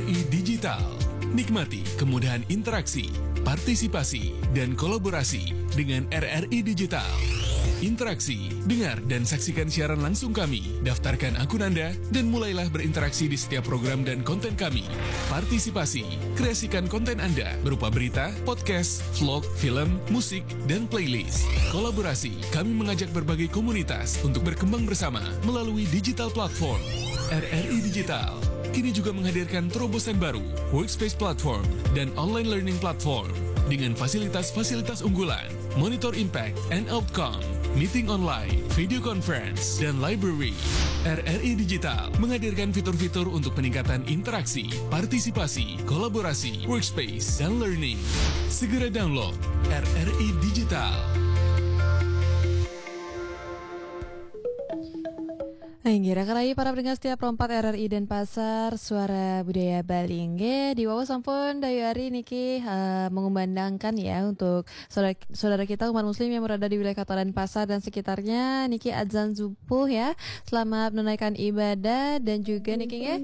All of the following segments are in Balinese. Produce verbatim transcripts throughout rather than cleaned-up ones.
Digital. Nikmati kemudahan interaksi, partisipasi, dan kolaborasi dengan R R I Digital. Interaksi, dengar dan saksikan siaran langsung kami. Daftarkan akun Anda dan mulailah berinteraksi di setiap program dan konten kami. Partisipasi, kreasikan konten Anda berupa berita, podcast, vlog, film, musik, dan playlist. Kolaborasi, kami mengajak berbagai komunitas untuk berkembang bersama melalui digital platform. R R I Digital kini juga menghadirkan terobosan baru, Workspace Platform dan Online Learning Platform dengan fasilitas-fasilitas unggulan, Monitor Impact and Outcome, Meeting Online, Video Conference, dan Library. R R I Digital menghadirkan fitur-fitur untuk peningkatan interaksi, partisipasi, kolaborasi, workspace, dan learning. Segera download R R I Digital. Inggih, rakan-rakan para pendengar setia Pro empat R R I Denpasar, Suara Budaya Bali. Inggih, di wau sampun Dayu Ari niki uh, mengumandangkan ya untuk saudara, saudara kita umat muslim yang berada di wilayah Kota Denpasar dan sekitarnya niki azan subuh ya. Selamat menunaikan ibadah dan juga niki nggih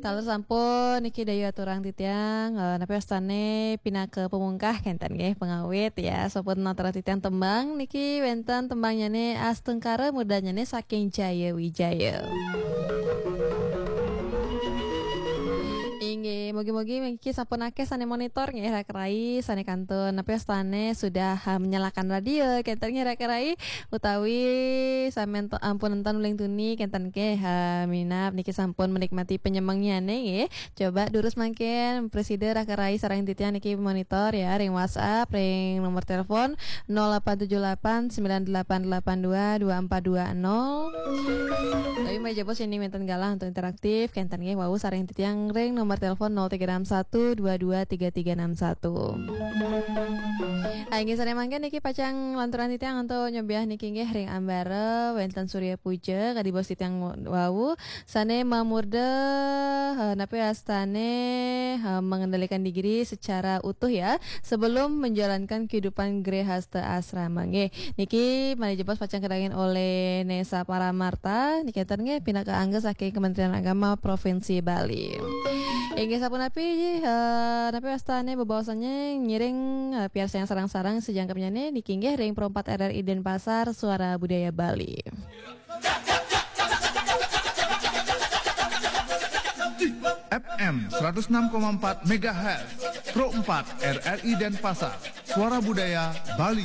taler sampun niki Dayu aturang titiang uh, napi wastane pinaka pemungkah kenten nggih pengawit ya sampun aturang titiang tembang niki wenten tembangnyane Astungkara mudanyane saking Jaya Wijaya. Inggih, mugi-mugi niki sampun akeh sane monitor nggih rakan-rakan sane kantun napi wastane sudah uh, menyalakan radio kenten nggih rakan-rakan utawi samen ampun enten uling tuni kenten nggih uh, minab niki sampun menikmati penyemengnyane nggih. Coba durus mangkin presida rakan-rakan sareng titiang niki monitor ya ring WhatsApp ring nomor telepon nol delapan tujuh delapan sembilan delapan delapan dua dua empat dua nol. Tapi mari jebos ini wenten galah untuk interaktif kenten nggih wau sareng titiang ring nomor telepon nol tiga enam satu dua dua tiga tiga enam satu. Inggih sane mangkin niki pacang lanturan titiang untuk nyobiah niki nggih ring ambara wenten Surya Puja kadi bos titiang wau sane mamurda uh, napi astane uh, mengendalikan diri secara utuh ya sebelum menjalankan kehidupan grehasta asrama nggih. Niki mari jebos pacang kedangin oleh Nesa Paramarta niki enten nggih pinaka angga saking Kementerian Agama Provinsi Bali. Inggih sapunapi uh, napi wastane bebaosannya ngiring uh, piarsayang sarang-sarang sejangkepnyane niki nggih ring Pro empat R R I Denpasar Suara Budaya Bali. F M seratus enam koma empat megahertz Pro empat R R I Denpasar Suara Budaya Bali.